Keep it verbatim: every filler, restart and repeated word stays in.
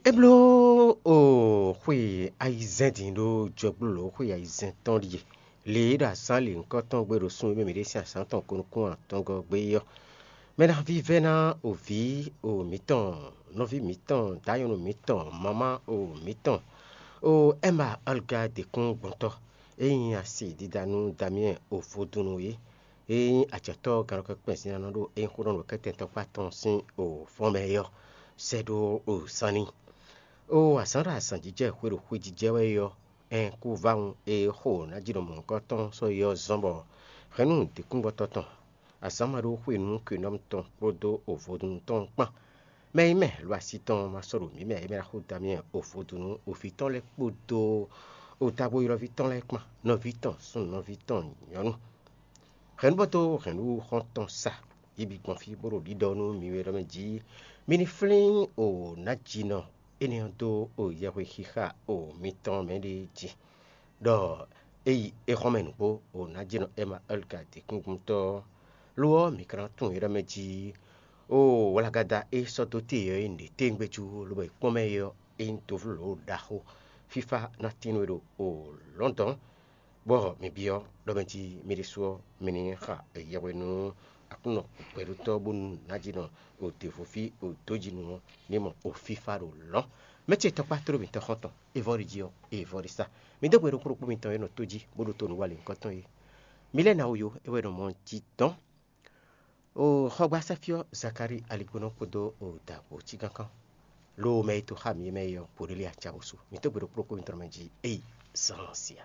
É bló o xwe ayizɛ́n din ɖó jɔgbólǒ xwe ayizɛ́n tɔn ɖíe. Lě e ɖo azǎn lǐnkɔ́ tɔn gbe ɖo sun e mɛ mǐ ɖe sín azǎn tɔn ko nukún atɔngɔ́ gbé é ɔ́, mɛ ná vívɛ́ ná o vǐ o mǐtɔn, nɔví mǐtɔn, dǎnyɔ́nú mǐtɔn, mamá o mǐtɔn, o Ɛma Ɔlga Dekúngbɔntɔ́, e nyí asi dídá nú Damiyɛ́n o vodúnnu é, e nyí ajɔ̌tɔ́ gannɔkɛ́kpɛ́n zínánɔ ɖo é nyí xó ɖɔ nǔ kɛ́tɛn tɔkpá tɔn sín o fɔ́n mɛ é ɔ́, sɛ́ ɖó o sán n'i. O azǎn ɖo azǎn jijɛ xwe ɖo xwe jijɛ wɛ é ɔ́, ɛn kú vawun e xo ná ji ɖo mɔ̌hunkɔtɔn sɔ́ é ɔ́ zɔ́n bɔ hɛ̌nnu dǐkúngbɔtɔ́ tɔn, azǎn ma ɖó xwe nú kwinɔ́mú tɔn kpódó o vodúnnu tɔn kpán. Mɛ e nyí mɛ lo asi tɔn ma sɔ́ ɖo mǐ mɛ e mɛ ná xo dó amyɛ o vodúnnu o vǐ tɔn lɛ́ɛ kpódó o távo ylɔ́ví tɔn lɛ́ɛ kpán, nɔví tɔn súnnu, nɔví tɔn nyɔ̌nu. Hɛ̌nnu bɔ dó hɛ̌nnu xɔ́ntɔn sa, yi bǐ gbɔn fí bó ɖo ɖiɖɔ nú mi wɛ ɖɔ mɛ jí mi ní flín o nǎjínɔ énɛ́ ɔ́ dó o yɛhwexixa o mitɔn mɛ ɖé jí, ɖɔ é yi é xɔ́n mɛ nǔgbó o nǎjínɔ Ɛma Ɛlika dǐkúngbúntɔ́ ɔ́. Lo ɔ́, mǐ ka ná tunwun é ɖɔ mɛ jí o wlagada e sɔ́ dó te ɔ́ é nǔɖé téwúngbé jú, lobo e kpɔ́n mɛ é ɔ́, é nyí dovló ɖaxó. Fífá ná tín nú we ɖo o lɔ̌ndɔ̌n. Bɔ mi byɔ́ ɖɔ mɛ jí mi ɖésú ɔ́, mi ní xa yɛhwe nú Aklúnɔ gbɛɖótɔ́ bónú nǎjínɔ o devo fí o dǒjínú ɔ́ ní mɔ o fífá ɖo lɔ̌n. Mɛ ce tɔkpá tló mitɔn xɔ́ntɔn, é vɔ́ ɖi jí ɔ́, é vɔ́ ɖi sá. Mi dó gbe ɖokpó ɖokpó mitɔn e nɔ tó jí bó ɖótó nǔ wa lěhunkɔtɔn é. Mi lɛ́ ná wú yó, é wɛ nɔ mɔ jí dɔn. O xɔgbasá fí ɔ́, Zakalíi aligbónɔ kpódó o dǎgbó cígánkán. Lo mɛ e to xá mi é mɛ é ɔ́, Kɔɖéli acawosu. Mi dó gbe ɖokpó ɖokpó mitɔn mɛ jí, éyi zán sia.